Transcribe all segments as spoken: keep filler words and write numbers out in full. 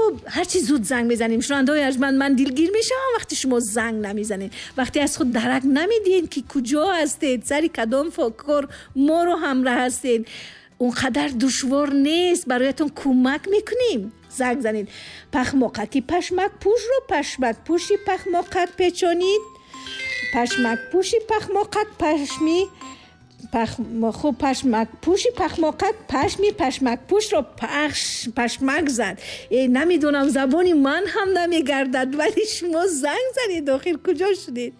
Хуб, ҳарчи зуд занг мезанем. Шунавандаҳои арҷманд, ман дилгир мешавам вақте шумо занг намезанед, вақте аз худ дарак намедиҳед, ки куҷо ҳастед, сари кадом кор моро ҳамроҳ ҳастед. Он қадар душвор нест, бароятон кӯмак мекунем. Занг занед. Пахмоқаки пашмакпӯшро пашмакпӯши пахмоқак печонид. Пашмакпӯши пахмоқак пашми хуб, пашмакпӯши пахмоқак пашми пашмакпӯшро пахш пашмак зад. Э, намедонам, забони ман ҳам намегардад, вале шумо занг занед. Охир куҷо шудед?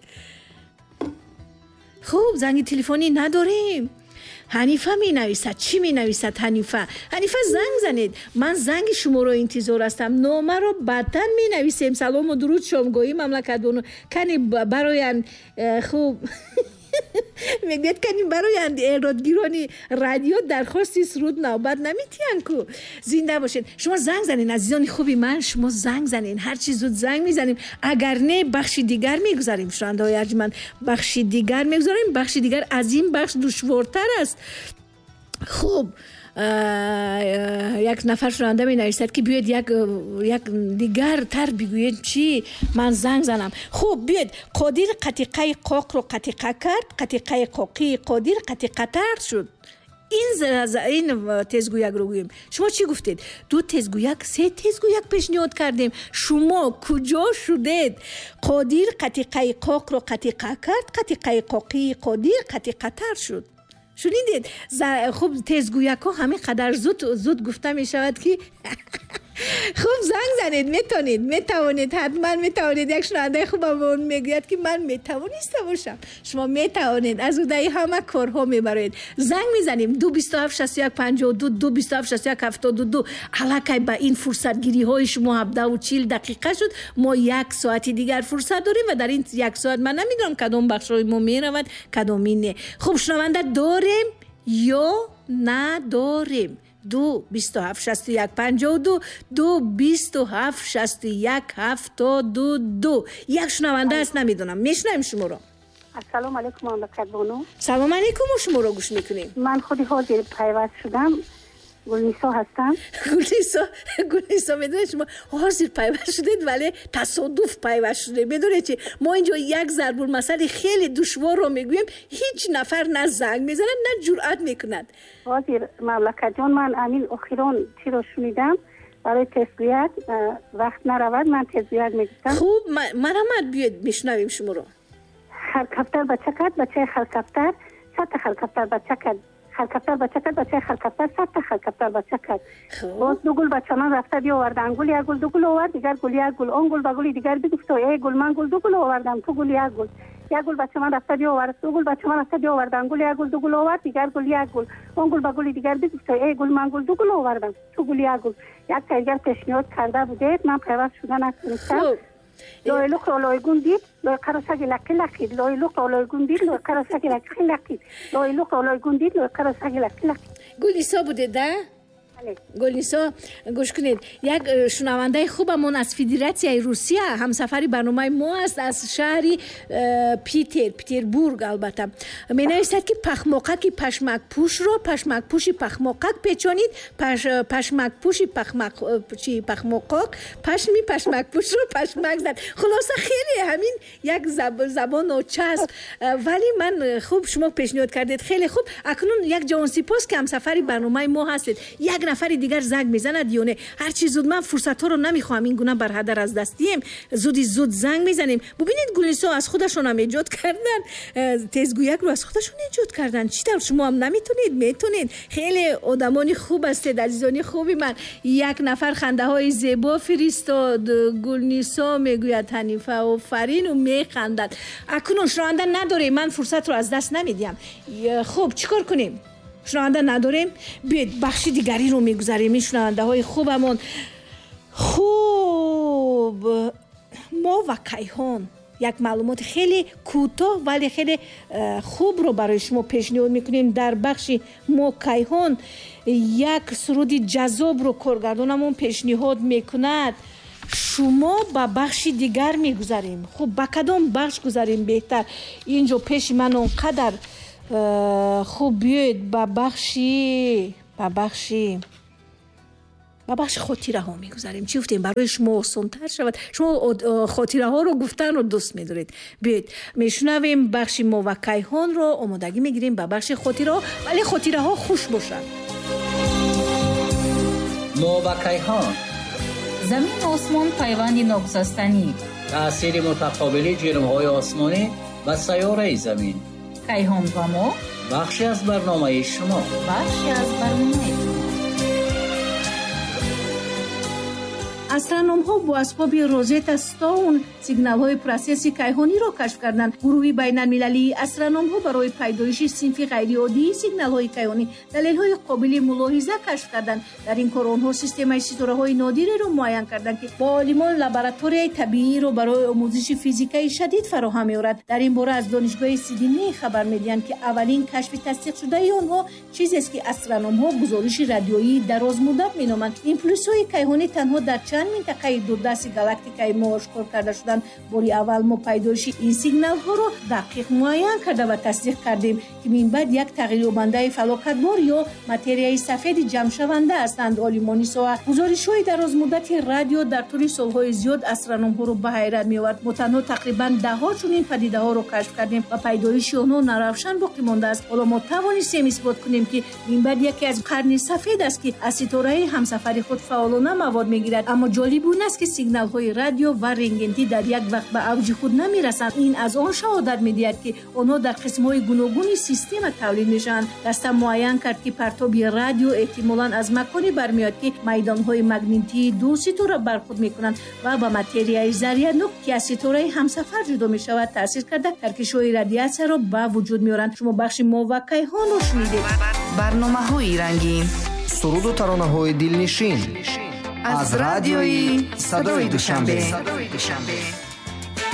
Хуб, занги телефонӣ надорем. Ҳанифа менависад. Чӣ менависад Ҳанифа? Ҳанифа, занг занед, ман занги шуморо интизор ҳастам. Номаро баъдан менависем. Салому дуруд, шомгоҳӣ, мамлакатбону. Кани бароянд. Э, хуб, мегӯяд, кани бароянд эродгирони радио дархости суруд навбат наметиҳанд ку. Зинда бошед. Шумо занг занед, азизони хуби ман, шумо занг занед. Ҳарчи зуд занг мезанем, агар не, бахши дигар мегузарем. Шунавандаҳои арҷманд, бахши дигар мегузарем. Бахши дигар аз ин бахш душвортар аст. Хуб, як нафар шунаванда менависад, ки биёед як як дигартар бигӯед, чӣ ман занг занам. Хуб, биёед. Қодир қатиқаи қоқро қатиқа кард, қатиқаи қоқии Қодир қатиқатар шуд. Ин ин тезгӯякро гӯем. Шумо чӣ гуфтед? Ду тезгӯяк, се тезгӯяк пешниҳод кардем. Шумо куҷо шудед? Қодир қатиқаи қоқро қатиқа кард, қатиқаи қоқии Қодир қатиқатар шуд. Шунидед? Хуб, тезгӯякҳо ҳамин қадар зуд зуд гуфта мешавад, ки хуб, занг занед. Метавонед, метавонед, ҳатман метавонед. Як шунавандаи хубамон мегӯяд, ки ман метавониста бошам. Шумо метавонед, аз уҳдаи ҳама корҳо мебароед. Занг мезанем: ду бисту ҳафт шасту як панҷоҳу ду, ду бисту ҳафт шасту як ҳафтоду ду. Аллакай ба ин фурсатгириҳои шумо ҳабдаҳу чил дақиқа шуд. Мо як соати дигар фурсат дорем ва дар ин як соат ман намедонам, кадом бахшҳои мо меравад, кадоми не. Хуб, шунаванда дорем ё надорем? Ду бисту ҳафт шасту як панҷоҳу ду, ду бисту ҳафт шасту як ҳафтоду ду. Як шунаванда аст, намедонам, мешунавем шуморо. Ассалому алайкум, мамлакатбону. Салом алайкум, мо шуморо гӯш мекунем. Ман худи ҳозир пайваст шудам, Гулнисо ҳастам. Гулнисо, Гулнисо, медонед, шумо ҳозир пайваст шудед, вале тасодуф пайваст шудед. Медонед чи, мо инҷо як зарбулмасали хеле душворро мегӯем, ҳеҷ нафар на занг мезанад, на ҷуръат мекунад. Ҳозир, мамлакатҷон, ман амин охирон чиро шунидам, барои тезгӯяк вақт наравад, ман тезгӯяк мегуфтам. Хуб, марҳамат, биёед, мешунавем шуморо. Харкафтар бача кард, бачаи харкафтар садта харкафтар бача кард. Харкафтар бача кард, бачаи харкафтар садта харкафтар бача кард. Боз ду гул ба чаман рафта биоварданд. Гул як гул ду гул овард, дигар гул як гул. Он гул ба гули дигар бигуфто: «Эй гул, ман гул ду гул овардам, ту гул як гул». Як гул ба чаман рафта биовард, ду гул ба чаман рафта биоварданд. Гул як гул ду гул овард, дигар гул як гул. Он гул ба гули дигар бигуфто: «Эй гул, ман гул ду гул овардам, ту гул як гул». Як дигар пешниҳод карда будед, ман пайваст шуда натонистам. Лойлуқро лойгун дид, лойқаро саги лаққи лаққид. Лойлуқро лойгун дид, лойқаро саги лаққи лаққид. Лойлуқро лойгун дид, лойқаро саги лаққи лаққид. Гулнисо будед, да? Гулнисо, гӯш кунед, як э, шунавандаи хубамон аз Федератсияи Русия ҳамсафари барномаи мо аст, аз шаҳри э, Питер, Петербург албатта, менависад, ки пахмоқаки пашмакпӯшро пашмакпӯши пахмоқак печонид, пашмакпӯши пахмоқоқ пашми пашмакпӯшро пашмак зад. Хулоса, хеле ҳамин як забон ночасп, э, вале ман хуб, шумо пешниҳод кардед, хеле хуб. Акнун як ҷавонсипос, ки ҳамсафари барномаи мо ҳастед. Як нафари дигар занг мезанад ё не? Ҳарчи зуд, ман фурсатҳоро намехоҳам ин гуна барҳадар аз даст диҳем. Зуди зуд занг мезанем. Бубинед, Гулнисо аз худашонам эҷод кардан, э, тезгӯякро аз худашон эҷод кардан. Чӣ тавр шумо ҳам наметонед? Метонед, хеле одамони хуб ҳастед, азизони хуби ман. Як нафар хандаҳои зебо фиристод. Гулнисо, мегӯяд Ҳанифа, офарину механдад. Акнун шунаванда надорем, ман фурсатро аз даст намедиҳам. Хуб, чӣ кор кунем? Шунаванда надорем, биёед, бахши дигариро мегузарем. Ин шунавандаҳои хубамон, хуб, мо ва кайҳон як маълумоти хеле кӯтоҳ, вале хеле э, хубро барои шумо пешниҳод мекунем. Дар бахши мо кайҳон як суруди ҷаззобро коргардонамон пешниҳод мекунад. Шумо ба бахши дигар мегузарем. Хуб, ба кадом бахш гузарем беҳтар? Инҷо пеши ман он қадар э, хуб, биёед ба бахши ба бахши Ба бахши хотираҳо мегузарем. Чӣ гуфтем, барои шумо осонтар шавад. Шумо хотираҳоро гуфтанро дӯст медоред. Биёед мешунавем бахши мо ва кайҳонро, омодагӣ мегирем ба бахши хотираҳо, вале хотираҳо хуш бошанд. Мо ва кайҳон. Замин осмон пайванди ногусастанӣ. Таъсири мутақобили ҷирмҳои осмонӣ ба сайёраи замин. Кайҳон ва мо бахши аз барномаи шумо. Бахши аз барномаи шумо. Астрономҳо бо асбоби Розетта Стоун сигналҳои процесси кайҳониро кашф карданд. Гурӯҳи байналмилалии астрономҳо барои пайдоиши синфи ғайриоддии сигналҳои кайҳонӣ далелҳои қобили мулоҳиза кашф карданд. Дар ин кор онҳо системаи ситораҳои нодиреро муайян карданд, ки бо олимон лабораторияи табииро барои омӯзиши физикаи шадид фароҳам меорад. Дар ин бора аз донишгоҳи Сидней хабар медиҳанд, ки аввалин кашфи тасдиқшудаи онҳо чизест, ки астрономҳо гузориши радиоии дарозмуддат меноманд. Импулсҳои кайҳонӣ танҳо дар чанд минтақаи дурдасти галактикаи мо ошкор карда шуданд. Бори аввал мо пайдоиши ин сигналҳоро дақиқ муайян карда ва тасдиқ кардем, ки минбаъд як тағйирёбандаи фалокатбор ё материяи сафеди ҷамъшаванда ҳастанд. Олимони соҳа гузоришҳои дарозмуддати радио дар тӯли солҳои зиёд астрономҳоро ба ҳайрат меовард. Мо танҳо тақрибан даҳҳо чунин падидаҳоро кашф кардем ва пайдоиши онҳо наравшан боқӣ мондааст. Ҳоло мо тавонистем исбот кунем, ки минбаъд яке аз қарни сафед аст, ки аз ситораи ҳамсафари худ фаъолона мавод мегирад. Аммо ҷолиб он аст, ки сигналҳои радио ва рентгентӣ дар як вақт ба авҷи худ намерасанд. Ин аз он шаҳодат медиҳад, ки онҳо дар қисмҳои гуногуни система тавлид мешаванд. Даста муайян кард, ки партоби радио эҳтимолан аз маконе бармеояд, ки майдонҳои магнитии ду ситора бархӯрд мекунанд ва ба материяи заряднок, ки аз ситораи ҳамсафар ҷудо мешавад, таъсир карда таркишҳои радиатсияро ба вуҷуд меоранд. Шумо бахши мо ва кайҳонро шунидед. Барномаҳои рангин, суруду таронаҳои дилнишин аз радиои Садои Душанбе.